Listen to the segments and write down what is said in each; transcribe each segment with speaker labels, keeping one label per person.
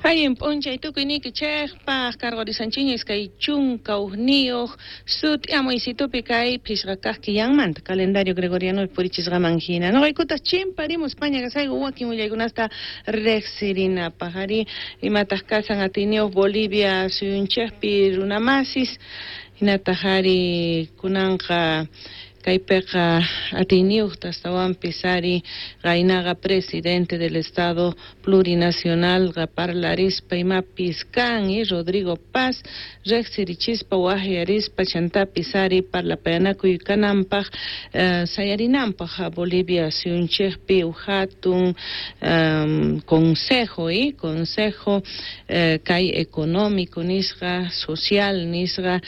Speaker 1: Allin p'unchay tukuyniykichejpaj karqurisanchiña 21 sut'iamuysitupi kay phishqa kaq killanmanta calendario gregoriano purichisqaman hina. Noqaykutaq chimparimus paña kasayku wakin willaykunasta riqsirinapaq ari imataq kasan atiyniyuq Bolivia suyunchikpi runamasis hinataq ari kunanqa kaypiqa atiyniyuqta astawanpis ari qaynaqa presidente del Estado Plurinacional parlarispa imapis kan y Rodrigo Paz riqsirichispa waqyarispa chantapis ari parlapayanakuy kananpaq sayarinanpaq Bolivia suyunchikpi hatun consejo y consejo kay económico nisqa social nisqa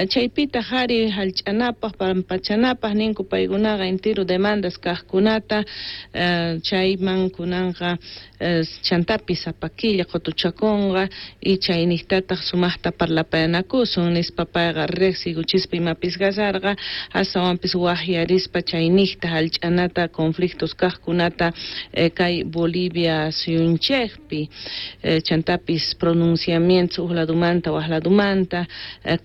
Speaker 1: chaypitaq ari hallch'anapaq pampachanapaq ninku paykunaqa entero demandas kaqkunata chayman kunanqa chantapis sapa killa qutuchakunqa y chayniqtataq sumaqta parlapayanakusun nispa payqa riqsiykuchispa imapis kasarqa astawanpis waqyarispa chayniqta hallch'anata conflictos kaqkunata kay Bolivia suyunchikpi chantapis pronunciamientos huk ladumanta wak ladumanta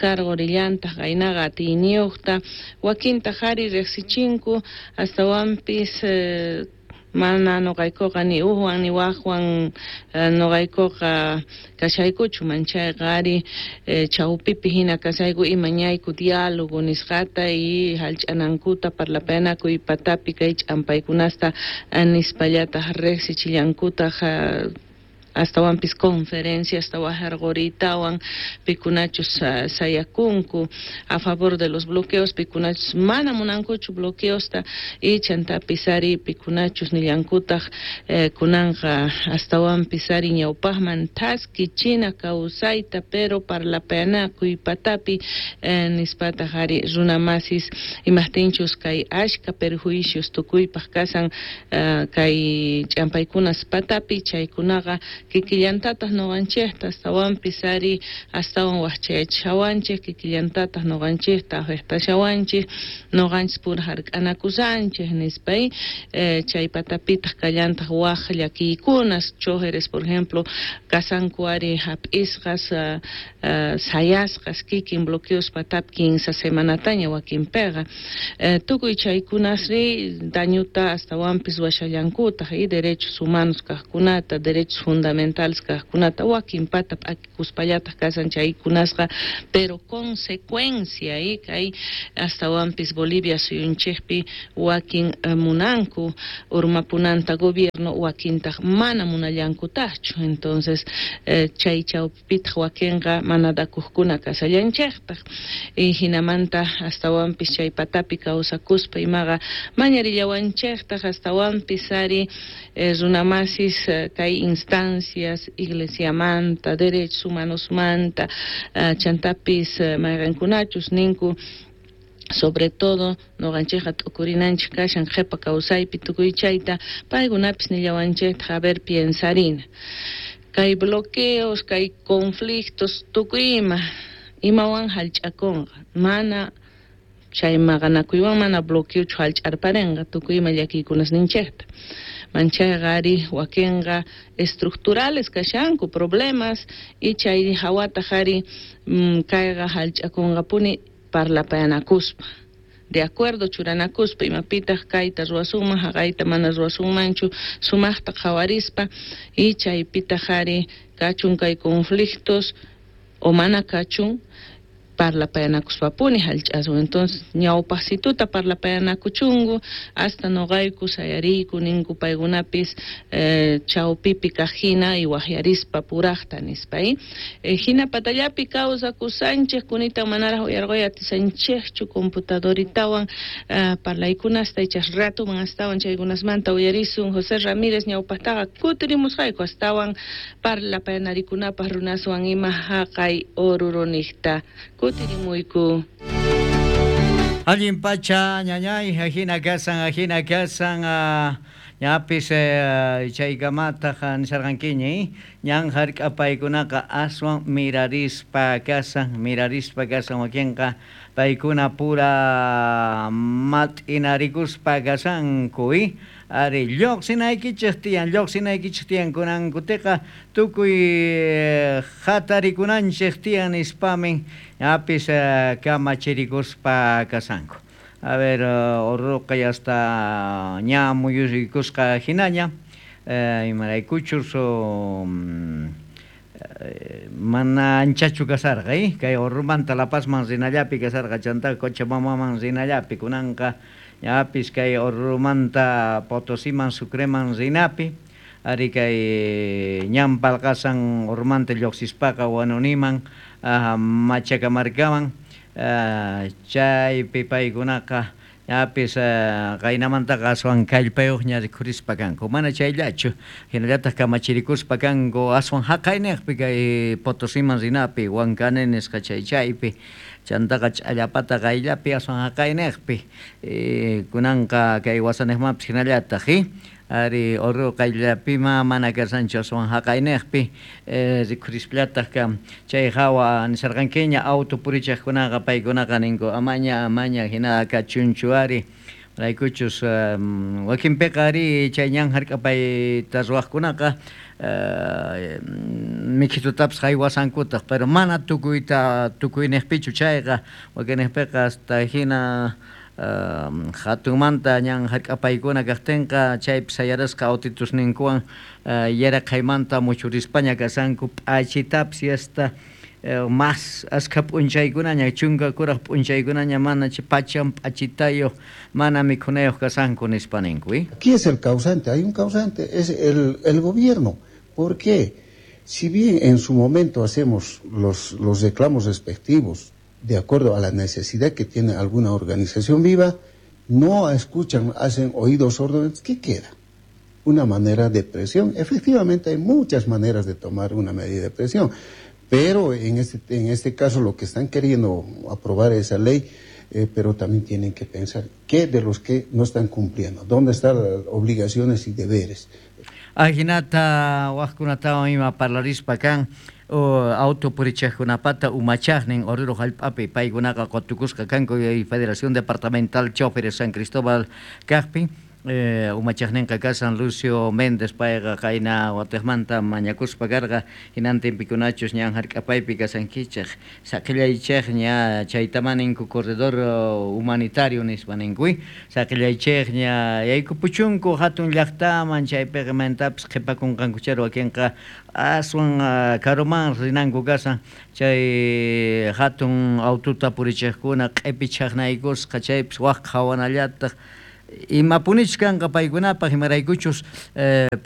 Speaker 1: karqurillantaq qaynaqa atiyniyuqta wakintaq ari riqsichinku astawanpis mana noqaykuqa ni ujwan ni wajwan noqaykuqa kashaykuchu manchayqa ari chawpipi hina kashayku imañayku diálogo nisqata y hallch'anankuta parlapayanakuy patapi kay ch'ampaykunasta nispallataq riqsichillankutaq astawanpis conferencias wajarquritawan pikunachus sayakunku a favor de los bloqueos pikunachus mana munankuchu bloqueosta y chantapis ari pikunachus nillankutaq kunanqa astawanpis ari ñawpaqman thaskichina kawsayta pero parlapayanakuy patapi nispataq ari runamasis imaqtinchus kay ashka perjuicios tukuypaq kasan kay ch'ampaykunas patapi chaykunaqa kikillantataq noqanchikta astawanpis ari astawan waqchayachishawanchik kikillantataq noqanchikta afectashawanchik noqanchis pura hark'anakusanchik nispa chay patapitaq kallantaq waq llakiykunas chojeres por ejemplo kasanku ari hap'isqas sayasqas kikin bloqueos patapi 15 semanataña wakinpiqa tukuy chaykunasri dañuta astawanpis washallankutaq y derechos humanos kaqkunata derechos fundamentales kaqkunata wakin pata p'akikuspallataq kasan chaykunasqa pero consecuencia y kay astawanpis Bolivia suyunchikpi wakin munanku urmapunanta gobierno wakintaq mana munallankutaqchu entonces chay chawpipitaq wakinqa mana dakuqkuna kasallanchiktaq y hinamanta astawanpis chay patapi kawsakuspa imaqa mañarillawanchiktaq astawanpis ari runamasis kay instancias iglesiamanta derechos humanosmanta chantapis mayqankunachus ninku sobre todo noqanchikqa t'ukurinanchik kashan qhipa kawsaypi tukuy chayta paykunapis nillawanchiktaq a ver piensarina kay bloqueos kay conflictos tukuy ima imawan hallch'akunqa mana chay maqanakuywan mana bloqueochu hallch'arparinqa tukuy ima llakiykunasninchikta manchayqa ari wakinqa estructurales kashanku problemas y chay hawataq ari kayqa hallch'akunqapuni parlapayanakuspa de acuerdo churanakuspa imapitaq kayta ruwasunman haqayta mana ruwasunmanchu sumaqta qhawarispa y chaypitaq ari kachun kay conflictos o mana kachun parlapayanakuspapuni hallch'asun entonces ñawpaqsituta parlapayanakuchunku hasta noqayku sayariyku ninku paykunapis chawpipi kaq hina y waqyarispa puraqta nispa hina patallapi kawsakusanchik kunita manaraq uyarquy atisanchikchu computadoritawan parlaykunasta ichas ratuman astawan chaykunasmanta uyarisun José Ramírez ñawpaqtaqa kutirimusqayku astawan parlapayanarikunapaq runaswan ima haqay oruroniqta kutirimuyku.
Speaker 2: Allin pacha ñañay ajina kasan ñapis chaykamataq nisarqankiña ñan hark'apaykunaqa aswan mirarispa kasan wakinqa paykuna pura mat'inarikuspa kasanku. Ari lloqsinaykichik tiyan, lloqsinaykichik tiyan kunankutiqa tukuy hatarikunanchik tiyan nispamin ñapis kamachirikuspa kasanku. A ver, Orroqa ya hasta ña muyurikusqa hinaña, imaraykuchus mana anchachu kasarqa, kay Orromanta La Pazman rinallapi kasarqa, chanta Cochabambaman rinallapi, kunanqa ñapis kay Orromanta Potosiman Sucreman rinapi, ari kay ñan palqasan Orromanta lluqsispaqa Huanuniman, Machacamarcaman, chaypi paykunaqa ñapis qaynamantaqa aswan kallpayuqña rikhurispa kanku, mana chayllachu, hinallataq kamachirikuspa kanku aswan haqayniqpi kay Potosiman rinapi, Huancane nisqa chay chaypi, chantaqa Ch'allapata qayllapi aswan haqayniqpi, kunanqa kay wasaniqmanpis hinallataq, ari Oruro qayllapima mana kashanchu aswan haqayniqpi, rikhurispallataq chay hawa nisharqankiña auto purichaqkunaqa paykunaqa ninku amaña amaña hina kachunchu ari, raykuchus wakinpiqa ari chay ñan hark'apayta ruwaqkunaqa mikhitutapis haywasankutaq, pero mana tukuyta tukuyniqpichu chayqa, wakinniqpiqa hasta hina hatunmanta ñan hark'apaykuna kaqtinqa chaypi sayarasqa autitusninkuwan yaraqhaymanta muchurispaña kasanku, p'achitapis hasta mas askha p'unchaykunaña, chunka kuraq p'unchaykunaña mana pachan p'achitayuq, mana mikhunayuq kasanku nispa ninku.
Speaker 3: ¿Quién es el causante? Hay un causante, es el gobierno. ¿Por qué? Si bien en su momento hacemos los reclamos respectivos de acuerdo a la necesidad que tiene alguna organización viva, no escuchan, hacen oídos sordos, ¿qué queda? Una manera de presión. Efectivamente hay muchas maneras de tomar una medida de presión, pero en este caso lo que están queriendo aprobar esa ley, pero también tienen que pensar qué de los que no están cumpliendo, dónde están las obligaciones y deberes.
Speaker 2: Ajinata wajkunatawan ima parlarispa kan auto purichaqkunapata umachaqnin Oruro hallp'api paykunaqa qutukusqa kanku Federación Departamental Choferes San Cristóbal kaqpi, umachaqninqa kasan Lucio Méndez, payqa qayna watiqmanta mañakuspa karqa hinantinpikunachus ñan hark'apaypi kasankichaq saqillaychaq ña chaytama ninku corredor humanitario nispa ninku, saqillaychaq ña yaykupuchunku hatun llaqtaman chaypiqa mantapis qhipakunqankuchari wakinqa aswan karuman rinanku kasan chay hatun aututa purichaqkuna q'ipi chaqnaykusqa chaypis waq qhawanallataq imapunich kanqa paykunapaq imaraykuchus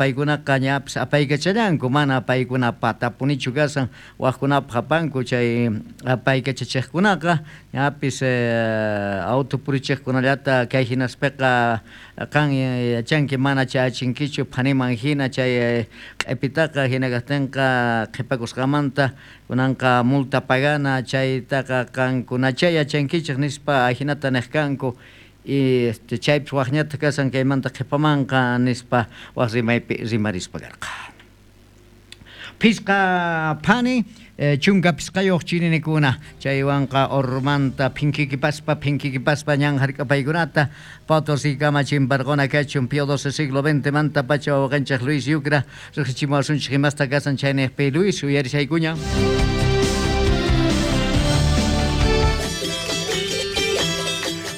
Speaker 2: paykunaqa ñapis apaykachallanku mana paykuna patapunichu kasan waqkunapaq apanku chay apaykachachaqkunaqa ñapis auto purichaqkunallata kay hinaspiqa qan yachanki mana chayachinkichu phaniman hina chay q'ipitaqa hina kaqtinqa qhipakusqamanta kunanqa multa pagana chaytaqa qankunacha yachankichik nispa hinata niq kanku. Y chaypis waqñata kasan kaymanta qhipamanqa nispa waq rimaypi rimarispa karqa. Phisqa phani chunka phisqayuq chirinikuna chaywanqa Orromanta phinkikipaspa ñan hark'apaykunata Potosí kamachinparquna kachun Pío XII siglo XX manta pacha wawqanchik Luis Yucra riqsichimuwasunchik imasta kasan chayniqpi Luis uyarishaykuña.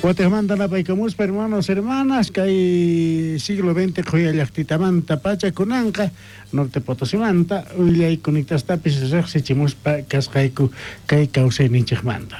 Speaker 4: Guatemala napaykamuspa hermanos, hermanas, kay siglo XX qhuyallaqtitamanta pacha kunanqa Norte Potosimanta willaykunitastapis riqsichimuspa kasqayku kay kawsayninchikmanta.